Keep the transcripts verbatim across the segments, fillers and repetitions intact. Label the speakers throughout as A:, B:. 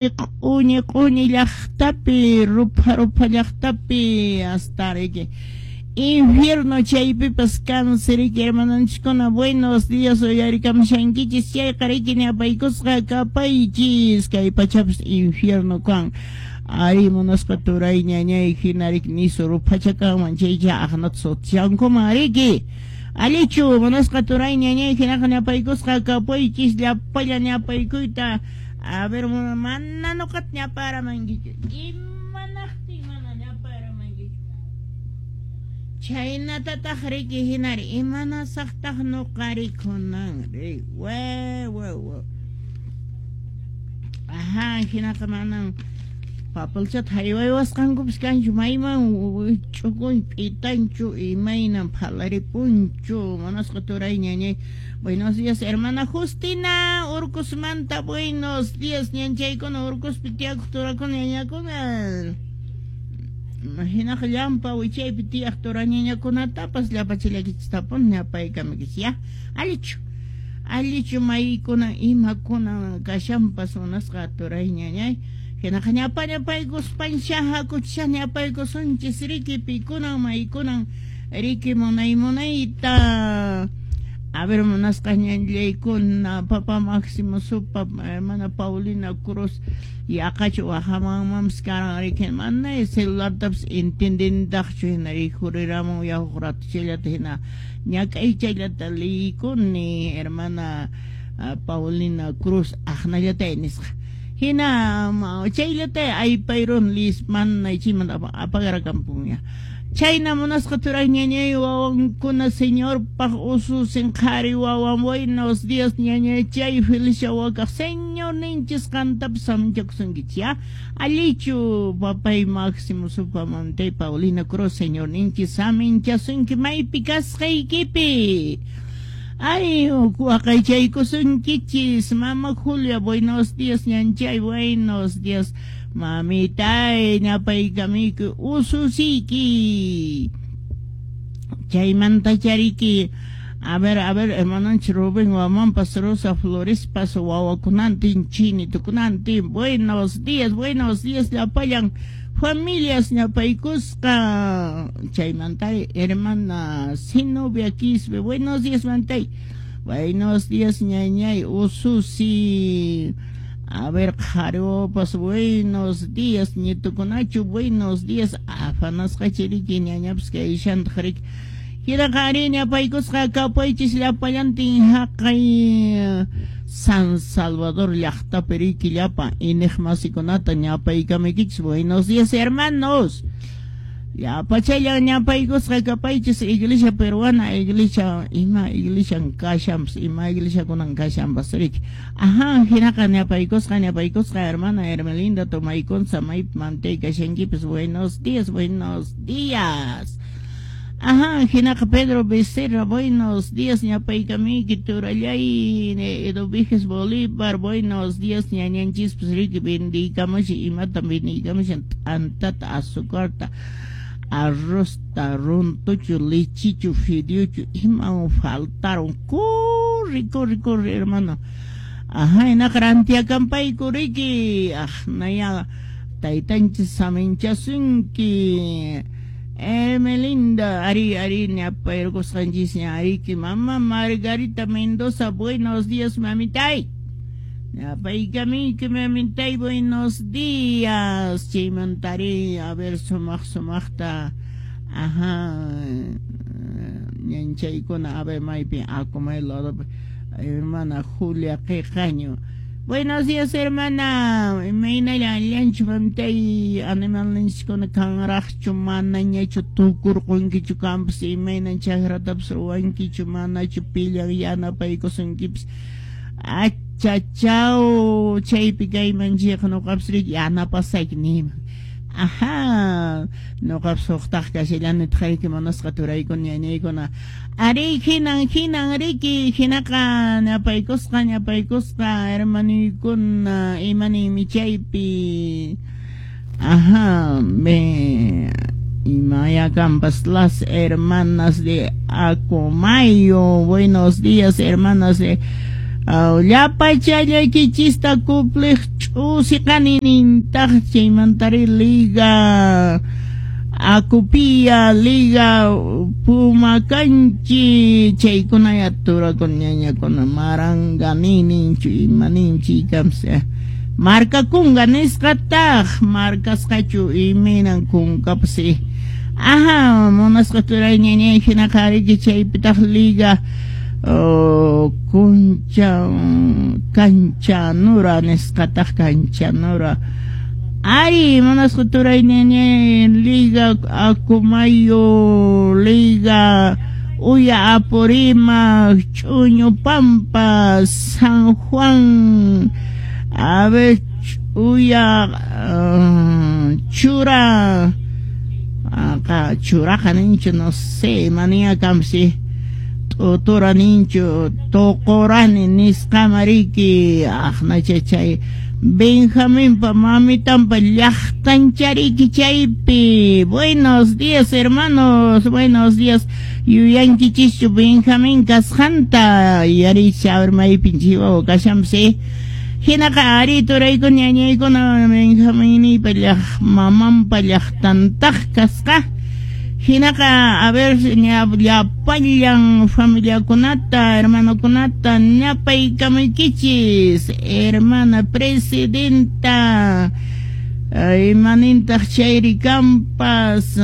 A: Q'uñi q'uñi llaqtapi, rupha rupha llaqtapi, hasta riki infierno chaypipas kansi riki. Hermanonchiskuna, buenos días. Uyarikamushankichis chayqa riki, ñapaykusqa kapaychis. Kay pachapas infierno kan ari, munasqa turay ñañay. Hina riki nisu ruphacha kanman chaycha aqnata sutchankuman riki. Allichu, munasqa turay ñañay? Hinaqa ñapaykusqa kapaychis llapalla ñapaykuyta. A ver, mana nuqata ñaparamankichu. Imanaqtin mana ñaparamankichu? Chhaynatataq riki hinari imanasaqtaq nuqa rikunan ri wa wa wa. Ajá, hinaqa manan papelchata haywaywasqankupas kanchu, mayman ch'ukun p'itanchu, imaynan phalaripunchu, munasqa turay ñañay. Buenos días, hermana Justina Urcosmanta. Buenos días, ñanchaykuna, Urcospi tiyakuq turakuna, ñañakuna. Hinaqa llampa wichaypi tiyaq tura ñañakunatapas llapachallakichistabun ñapaykamikis ya. Allichu, allichu maykuna imakuna kashanpas, munasqa turay ñañay? Hinaqa ñapa ñapaykuspansha hakuchisha ñapaykusunchis riki pikunan maykunan riki munay munayta. A ver, munasqa ñañaykuna, papá Máximo Supa, hermana Paulina Cruz, yaqachu wahamanmanpas karan riki, mana celulartapas entendentaqchu hina rikhuriramun yahuq rato chayllata hina ñak'ay chayllata liykuni. Hermana Paulina Cruz aqnallata nisqa hina chayllata aypayrun lis mana chaymanta apagarakampunña. Chayna munasqa turay ñañay, wawankuna Señorpaq ususin qhari wawan. Buenos días, ñañachay Felicia wakaq. Señorninchis qantapas saminchakusunkichis ya. Allichu, papay Máximo Supa, mamtay Paulina Cruz? Señorninchis saminchasunki maypi kasqaykipi. Ay, waqaychaykusunkichis. Mama Julia, buenos días, ñanchay, buenos días. Mamitay, ñapaykamiyku ususiyki. Chaymanta chariki. A ver, a ver, hermanonchis Rubén Wamanpas, Rosa Florespas, wawakunantin, chinitukunantin. Buenos días, buenos días, llapallan familias ñapaykusqa. Chaymanta hermana Zenobia Quispe, buenos días, mantay. Buenos días, ñañay, ususi. A ver, qhariwapas, buenos días, ñitukunachu, buenos días. Afanasqa chiriki ñañapas kayshantaq riki. Hinaqa ari ñapaykusqa kapaychis llapallantin haqay San Salvador llaqtapi riki llapa iñiqmasikunata ñapaykamuykichis. Buenos días, hermanos. Llapachallan ñapaykusqa kapaychis. Iglesia peruana, iglesia, ima iglesian kashanpas, ima iglesiakunan kashanpas riki. Ajá, hinaqa ñapaykusqa, ñapaykusqa, hermana Hermelinda Tomaykunza, maypi mantay kashankipas. Buenos días, buenos días. Ajá, hinaqa Pedro Becerra, buenos días, ñapaykamiyki turallay Eduviges Bolívar, buenos días, ñañanchispas riki bendiykamushi. Imata bendiykamushan? T'antata, azucarta, arrozta, runtuchu, lichichu, fideuchu, iman faltaron. Corre, corre, corre, hermano. Ajá, hinaqa rantiakampayku riki. Aqnaya taytanchis saminchasunki. Hermelinda, ari, ari, ñapaykusqanchis ña ariki. Mamá Margarita Mendoza, buenos días, mamitay. Ñapaykamiyki, mamitay, buenos días. Chaymantari, a ver, sumaq sumaqta, ajá, ñanchaykuna, a ver, maypi, Acomayo ladopi, hermana Julia Qiqaño. Buenos días, hermana. Imaynalla, allinchu, mamitay? Animalninchiskuna kanraqchu, manañachu tukurqunkichu kampas? Imaynan chakratapas ruwankichu, manachu pillan yanapaykusunkipas? Achachaw, chaypi kayman chayqa nuqapas riki yanapasayki niyman. Ajá, nuqapas huqtaq kashallani taqayki, munasqa turaykuna, ñañaykuna. Ari, hinan, hinan riki, hinaqa ñapaykusqa, ñapaykusqa, hermanuykuna, imaninmi chaypi. Ajá, me Imaya Campas, las hermanas de Acomayo. Buenos días, hermanas de Llapachallaykichista cumpliq ch'usiqani nintaq chaymantari Liga Acupía, Liga Pumacanchi, chaykuna ya turakuna ñañakuna maranga nininchu imaninchi kamsa marka kunga nisqataq markasqachu imaynan kunkapsi. Ajá, munasqa turay ñañay hinaqa riki chaypitaq Liga Oh, concha kanchanura nisqataq kanchanura. Ari munasqa turay ñañay Liga Acomayo, Liga Uya Apurima, Chuño Pampa, San Juan, a ver, Uya uh, Chura, acá Churaja nincho, no sé, manía kamsi. Otora nincho, tocorani nisqamariki, aqnacha chay Benjaminpa mamitanpa llaqtanchariki chaypi. Buenos días, hermanos, buenos días. Yuyankichischu Benjamín kasqanta, yaricha a ver maypin chiwawa kashanpis. Hinaqa ari turaykuna ñañaykuna Benjaminiypa llaq mamanpa llaqtantaq kasqa. Hinaqa, a ver, llapallan familiakunata, hermanokunata, ñapaykamaykichis, hermana presidenta, imanintaq chayri kampas,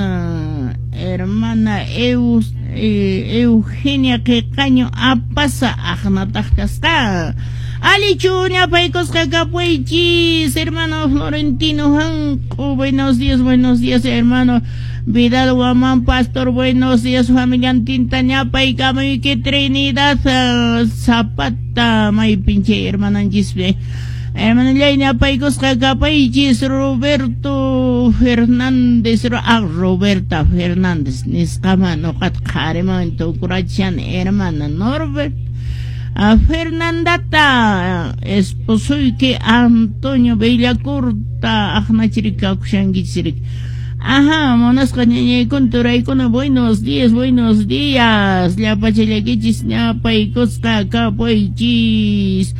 A: hermana Eus, Eugenia Qiqaño apasa aqnataq kasqa. Alichu ñapaykusqa kapuychis, hermano Florentino Hanku, buenos días, buenos días, hermano Vidal Guamán Pastor, buenos días, familia Tinta ñapaykamuyki Trinidad Zapata, may pinche hermananchispi. Hermanallay ñapaykusqa kapaychis, Roberto Fernández, ah, Roberta Fernández, nisqama nuqata qhariman tukurachan, hermana Norbert. A Fernandata, esposoyki Antonio Bellacurta, aqnachirika kushankichirik. Ajá, munasqa ñañaykuna turaykuna, buenos días, buenos días. Llapachallakichis ñapaykusqa kapuychis.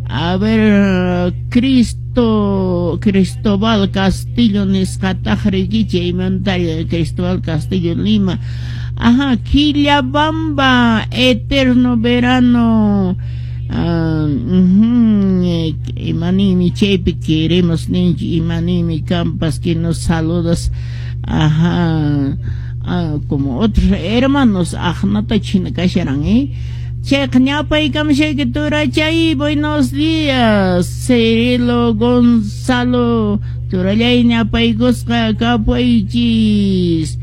A: A ver, Cristo, Cristóbal Castillo nisqataq rikichi, imantari Cristóbal Castillo Lima. Ajá, Quillabamba, eterno verano. Uh, uh-huh, imanimi chaypi queremos ninchi, imanimi campas que nos saludas. Ajá, ah, como otros hermanos, aqnata china kasharan, eh. Chayqa ñapaykamashayki turachay, buenos días, Cirilo Gonzalo, turallay ñapaykusqa kapuychis.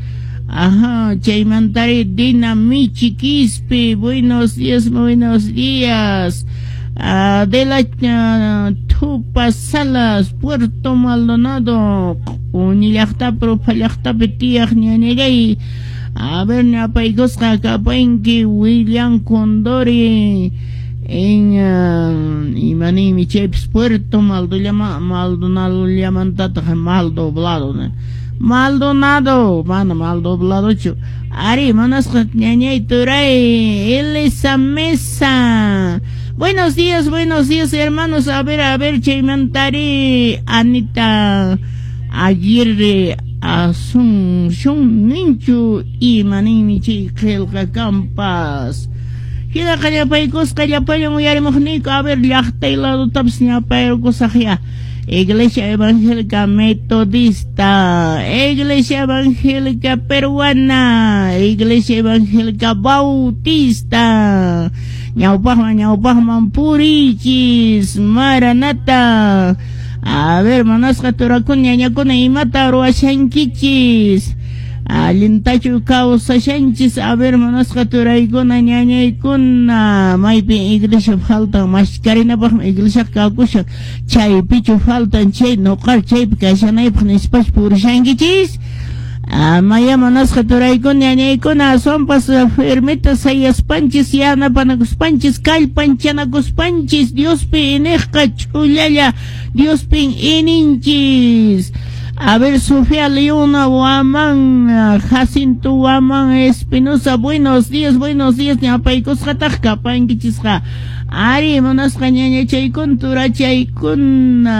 A: Ajá, chaymantari Dina Michi Quispe, buenos días, buenos días. Adela uh, Tupa Salas, Puerto Maldonado, Q'uñi llaqtapi, Rupha llaqtapi tiyaq ñañallay. A ver, ñapaykusqa kapanki William Condori en uh, imanimi chaypis Puerto Maldonado, Maldonado llamantataq Maldoblado, ¿no? Maldonado, mana Maldobladochu. Ari, munasqa ñañay turay, Elisa Mesa. Buenos días, buenos días, hermanos. A ver, a ver, chaymantari Anita Aguirre Asunción ninchu imanimi chay qillqa kampas. Hinaqa llapaykusqa llapallan uyarimuqniyku. A ver, llaqtay ladutapas ñapaykusaq ya. Iglesia Evangélica Metodista, Iglesia Evangélica Peruana, Iglesia Evangélica Bautista, ñawpaqman ñawpaqman purichis, Maranata. A ver, munasqa turakuna ñañakuna imata ruwashankichis, allintachu kawsashanchis. A ver, munasqa turaykuna ñañaykuna, maypi iglesia faltan mashkarinapaqmi iglesia kakushan, chaypichu faltan chay nuqar chaypi kashanaypaq nispachu purishankichis. Amaya munasqa turaykuna ñañaykuna, aswanpas firmita sayaspanchis, yanapanakuspanchis, kallpanchanakuspanchis, Diospi iniqqa ch'ullalla Diospin ininchis. A ver, Sofía Leona Guamán, Jacinto Guamán Espinosa, buenos días, buenos días, ñapaykusqataq kapankichisqa. Ari, munasqa ñañachaykuna, turachaykuna.